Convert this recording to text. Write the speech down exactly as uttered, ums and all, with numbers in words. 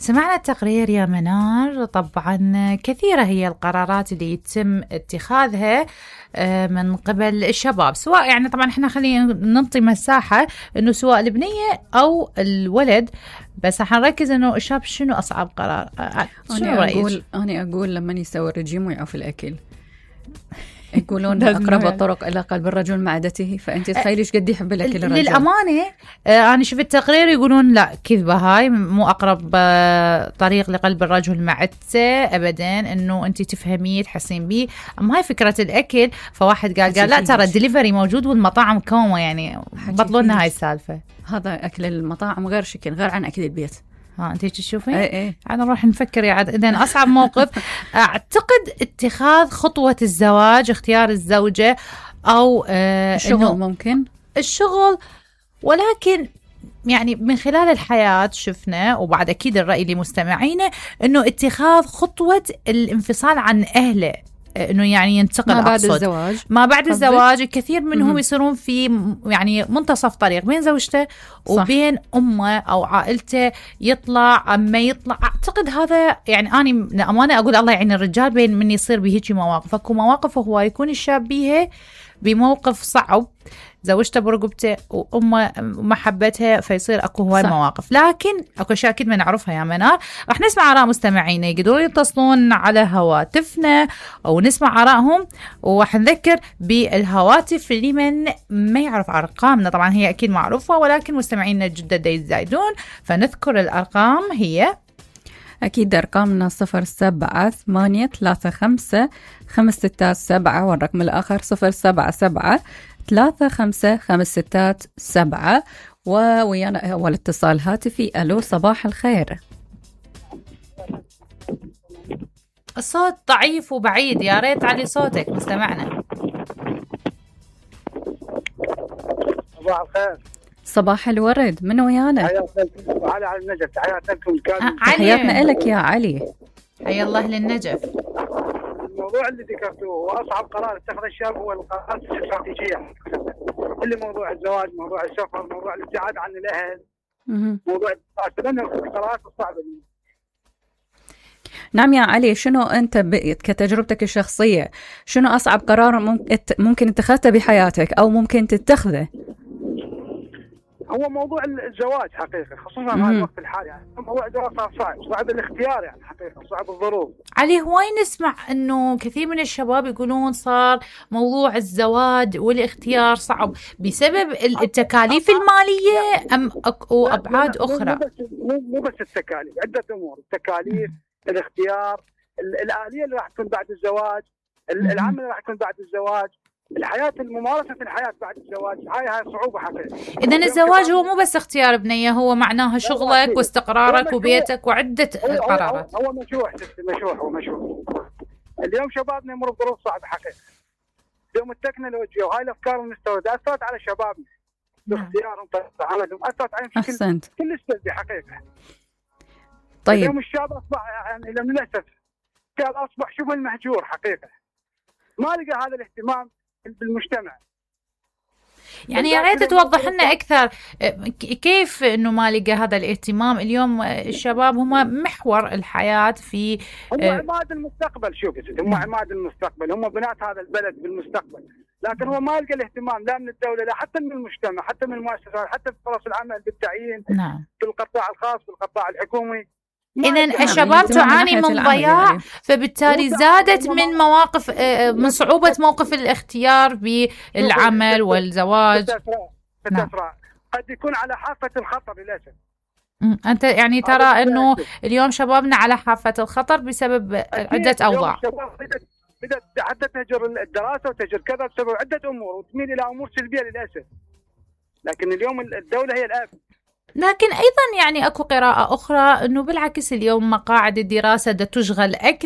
سمعنا التقرير يا منار. طبعا كثيرة هي القرارات اللي يتم اتخاذها من قبل الشباب، سواء يعني طبعا احنا خلينا ننطي مساحة انه سواء البنية او الولد، بس حنركز انه الشاب شنو اصعب قرار. شنو انا رأيك؟ اقول انا اقول لما يسوي الرجيم ويعوف الاكل يقولون أقرب الطرق إلى قلب الرجل معدته، فأنت تخيلي إيش قد يحب الأكل الرجل. للأمانة آه أنا شفت التقرير يقولون لا كذبة، هاي مو أقرب آه طريق لقلب الرجل معدته أبدا، إنه أنت تفهميه تحسين بيه. أما هاي فكرة الأكل، فواحد قال قال لا ترى الدليفري موجود والمطاعم كومة، يعني بطلونا هاي السالفة. هذا أكل المطاعم غير شكل، غير عن أكل البيت. ها انتي تشوفين؟ ايه ايه انا نروح نفكر يا عاد. اذا اصعب موقف اعتقد اتخاذ خطوة الزواج، اختيار الزوجة او آه الشغل. ممكن الشغل، ولكن يعني من خلال الحياة شفنا، وبعد اكيد الرأي لمستمعينا، انه اتخاذ خطوة الانفصال عن اهله، انه يعني ينتقل ما بعد أقصد. الزواج ما بعد قصدك؟ الزواج الكثير منهم مم. يصيرون في يعني منتصف طريق بين زوجته وبين امه او عائلته، يطلع اما يطلع. اعتقد هذا يعني اني لامانه اقول الله يعين الرجال بين من يصير بهيجي مواقف. اكو مواقف هو يكون الشاب بيها بموقف صعب، زوجته برقبته وامه محبتها، فيصير اكو هواي مواقف. لكن اكو اشياء اكيد ما نعرفها يا منار. راح نسمع اراء مستمعينا، يقدرون يتصلون على هواتفنا او نسمع ارائهم، وراح نذكر بالهواتف لمن ما يعرف ارقامنا. طبعا هي اكيد معروفه، ولكن مستمعينا الجدد يزايدون، فنذكر الارقام. هي أكيد أرقامنا صفر سبعة ثمانية ثلاثة خمسة خمس ستات سبعة، والرقم الآخر صفر سبعة سبعة ثلاثة خمسة خمس ستات سبعة. وويانا أول اتصال هاتفي. ألو صباح الخير. الصوت ضعيف وبعيد، يا ريت علي صوتك مستمعنا. صباح الخير. صباح الورد. من ويانا؟ علي على النجف. تحياتنا لكم كامل. تحياتنا لك يا علي. حيا الله للنجف. الموضوع اللي ذكرته هو أصعب قرار اتخذ الشاب، هو القرارات الاستراتيجية، اللي موضوع الزواج، موضوع السفر، موضوع الابتعاد عن الأهل، موضوع لأن القرارات الصعبة دي. نعم يا علي، شنو أنت كتجربتك الشخصية شنو أصعب قرار ممكن اتخذته بحياتك أو ممكن تتخذه؟ هو موضوع الزواج حقيقة، خصوصا في الوقت الحالي. يعني موضوع الزواج صار صعب، صعب الاختيار يعني حقيقة، صعب الظروف. علي هواي نسمع انه كثير من الشباب يقولون صار موضوع الزواج والاختيار صعب بسبب التكاليف المالية ام او ابعاد اخرى. مو بس مو بس التكاليف، عدة امور. التكاليف، الاختيار، الآلية اللي راح تكون بعد الزواج، العمل اللي راح يكون بعد الزواج، الحياة، الممارسة في الحياة بعد الزواج. هاي هاي صعوبة حقيقة. إذن الزواج هو مو بس اختيار بنية، هو معناها شغلك واستقرارك وبيتك وعدة قرارات. هو مشروع مشروع هو مشروع. اليوم شبابنا يمر بظروف صعبة حقيقة. اليوم التكنولوجيا وهاي الأفكار المستوردة أثرت على شبابنا باختيارهم، عملهم، أثرت عليهم بشكل كل سلبي حقيقة. طيب اليوم الشاب أصبح يعني للأسف الشاب أصبح شبه المهجور حقيقة، ما لقى هذا الاهتمام بالمجتمع. يعني يا ريت توضح لنا أكثر كيف إنه ما لقى هذا الاهتمام. اليوم الشباب هم محور الحياة، في هم عماد المستقبل. شوف هم عماد المستقبل، هم بنات هذا البلد بالمستقبل، لكن هو ما لقى الاهتمام لا من الدولة، لا حتى من المجتمع، حتى من المؤسسات، حتى في فرص العمل، بالتعيين، نعم، في القطاع الخاص، في القطاع الحكومي. إذن الشباب تعاني من ضياع، فبالتالي زادت من مواقف من صعوبة موقف الاختيار بالعمل والزواج. نعم. قد يكون على حافة الخطر للأسف. أنت يعني ترى أنه اليوم شبابنا على حافة الخطر بسبب عدة أوضاع. بدأت حتى تهجر الدراسة وتهجر كذا بسبب عدة أمور، وتميل إلى أمور سلبية للأسف. لكن اليوم الدولة هي الآفة. لكن أيضا يعني أكو قراءة أخرى أنه بالعكس اليوم مقاعد الدراسة دا تشغل أكثر